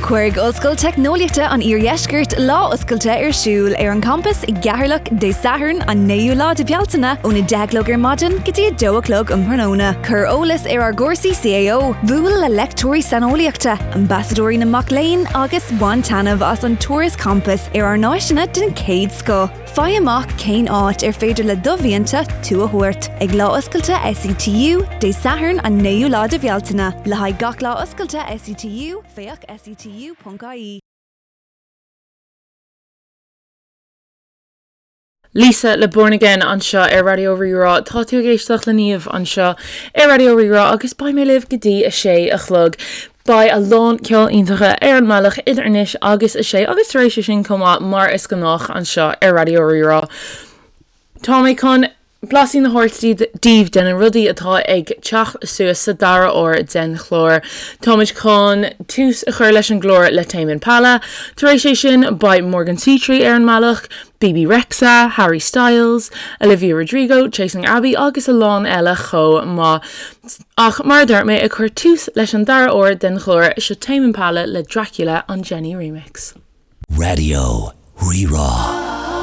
Cuirfidh Ollscoil Teicneolaíochta an Iardheiscirt lá oscailte ar siúl ar an champas i gCeatharlach Dé Sathairn an 9ú lá de Bhealtaine ón 10 a chlog ar maidin go dtí 2 a chlog um thráthnóna. Cuir eolas ar ár gcúrsaí CAO, buail le leicteoirí saineolaíochta, ambasadóirí na mac léinn agus bain taitneamh as an turas campais ar ár n-áiseanna den chéad scoth. Faigh amach cén áit ar féidir le do mhianta tú a thabhairt ag Lá Oscailte SETU, Dé Sathairn an 9ú lá de Bhealtaine. Le haghaidh gach Lá Oscailte SETU, féach setu.ie. Lisa le Born Again anseo ar Raidió Rí-Rá. Tá tú ag éisteacht le Niamh anseo ar Raidió Rí-Rá agus beidh mé libh go dtí a sé a chlog. Beidh a lán ceol iontacha ar an mbealach idir anois agus a sé agus tar éis sin chomh maith mar is gnách anseo ar Raidió Rí-Rá. Tá mé chun blaisín a thabhairt daoibh de na rudaí atá ag teacht suas sa dara huair den chlár. Táimid chun tús a chur leis an gclár le Tame Impala. Tar éis é sin beidh Morgan Seatree ar an mbealach, Bebe Rexha, Harry Styles, Olivia Rodrigo, Chasing Abbey agus a lán eile chomh maith. Ach mar a dúirt mé, ag cur tús leis an dara huair den chlár, seo Tame Impala le Dracula an Jenny Remix. Raidió Rí-Rá.